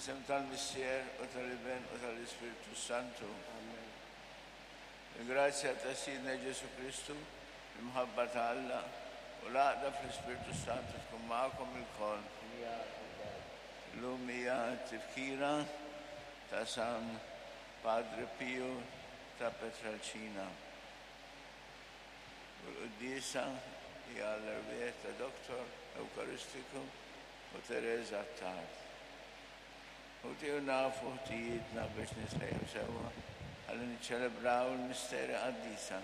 Fl-isem tal-Missier u tal-Iben u tal-Ispirtu Santu. Amen. Il-grazzja ta' Sidna Ġesù Kristu, l-imħabba ta' Alla, u l-għaqda fl-Ispirtu Santu tkun magħkom ilkoll. Miegħek ukoll. Illum hija t-tifkira ta' San Padre Piju ta' Petralcina. U l-quddiesa hija għall-erwieħ ta' Dottor Ewkaristiku u Teresa Attard. Ħuti u nafu ħtijietna biex nitħejjew sewwa ħalli niċċelebraw il-misteri qaddisa.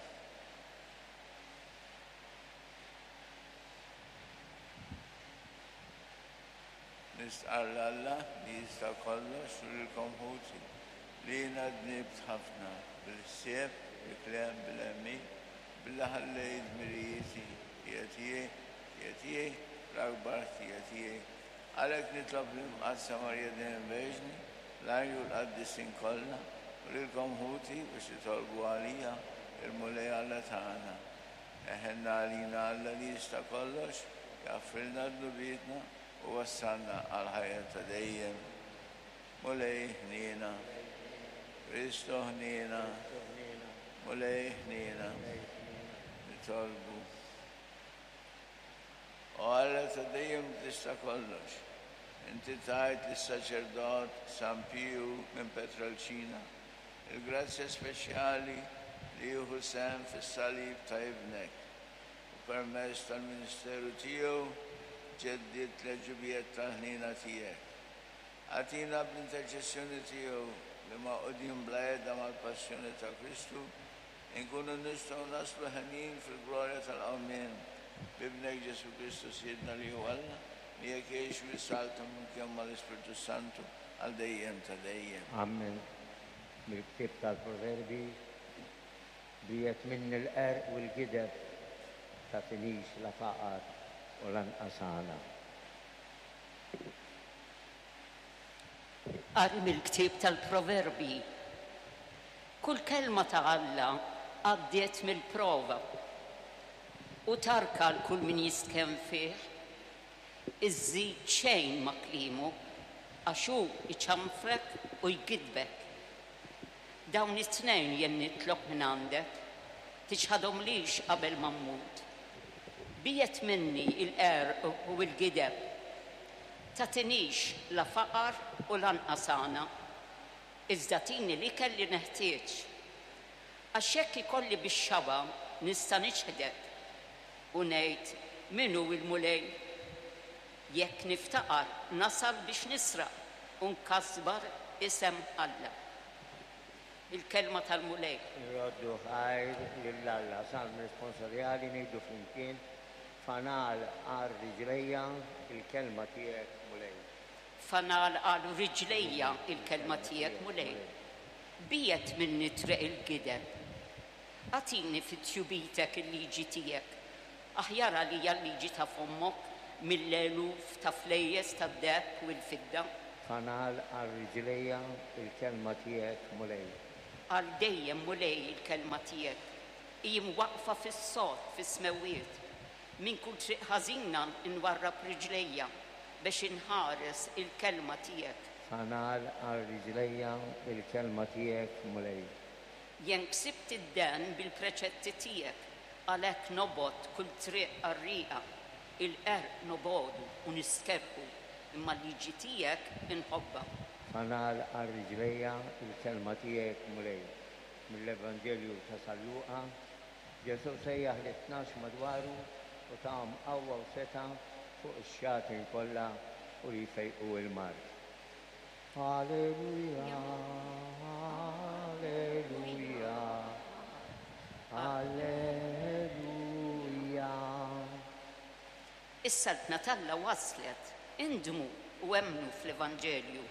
Nistqarr 'l Alla li jista' kollox u lilkom ħuti, li jiena dnibt ħafna, bil-ħsieb, bil-kliem, bil-għemil, billi ħallejt dmirijieti, ħtija tiegħi, ħtija tiegħi, l-akbar ħtija tiegħi. Għalhekk nitlob lill-Imqaddsa Marija dejjem Verġni, l-anġli u l-qaddisin kollha, u lilkom ħuti biex titolbu għalija lill-Mulej Alla tagħna. Eħenna għalina Alla li jista' kollox, jaħfrilna dnubietna u wassalna għall-ħajja ta' dejjem. Mulej ħniena. Kristu ħniena. Mulej ħniena. Nitolbu. O Alla ta' dejjem tista' kollox, inti tajt lis-saċerdot San Piju minn Petralcina il-grazzja speċjali li jieħu sehem fis-salib ta' Ibnek, u permezz tal-ministeru tiegħu ġeddidt l-għeġubijiet tal-ħniena tiegħek. Agħtina bl-interċessjoni tiegħu li magħqudin bla heda mal-passjoni ta' Kristu, inkunu nistgħu naslu henjin fil-glorja tal-qawmien, b'Ibnek Ġesù Kristu Sidna li hu Alla, miegħek jgħix u jsaltan flimkien mal-Ispirtu s-Santu għal dejjem ta' dejjem. Amen. Mill-ktieb tal-Proverbi, Biegħed minni l-qerq u l-gideb, tagħtinix la faqar u lanqas għana. Qari mill-ktieb tal-Proverbji. Kull kelma ta' Alla għaddiet mill-prova, u tarka 'l kull min jistkenn fih. Iżżid xejn ma' kliemu, għax hu jċanfrek u jgiddbek. Dawn it-tnejn jien nitlob mingħandek, tiċħadhomlix qabel ma mmut. Biegħed minni l-qerq u l-gideb. Tagħtinix la faqar u lanqas għana, iżda tini l-ikel li neħtieġ. Għax jekk ikolli bix-xaba' nista' niċħdek u ngħid, 'Min hu l-Mulej? Jekk niftaqar nasal biex nisraq u nkasbar isem Alla. Il-Kelma tal-Mulej. Irroddu ħajr lil Alla. Salm responsorjali ngħidu flimkien, Fanal għal riġlejja il-kelma tiegħek, Mulej. Fanal għal riġlejja il-kelma tiegħek, Mulej. Biegħed minni triq il-gideb. Agħtini fi tjubitek il-liġi tiegħek. Aħjar għalija l-liġi ta' fommok mill-eluf ta' flejjes tad-deheb u l-fidda. Fanal għal riġlejja il-kelma tiegħek, Mulej. Għal dejjem, Mulej, il-kelma tiegħek hi mwaqqfa fis-sod fis-smewwiet. Minn kull triq ħażina nwarrab riġlejja bex inħares il-kelma tiegħek. Fanal għal riġlejja il-kelma tiegħek, Mulej. Jien ksibt id-dehen bil-preċetti tiegħek, għalhekk nobgħod kull triq qarrieqa. Il-qerq nobogħdu u nistkerrħu, imma l-liġi tiegħek inħobbha. Fanal għal riġlejja l-kelma tiegħek, Mulej. Mill-Evanġelju ta' San Luqa, Ġesù sejjaħ lit-tnax madwaru u tahom qawwa u setgħa fuq ix-xjaten kollha u li jfejqu l-mard. Alleluja, Alleluja, Alleluja. Is-Saltna t'Alla waslet, indmu u emmnu fl-Evanġelju.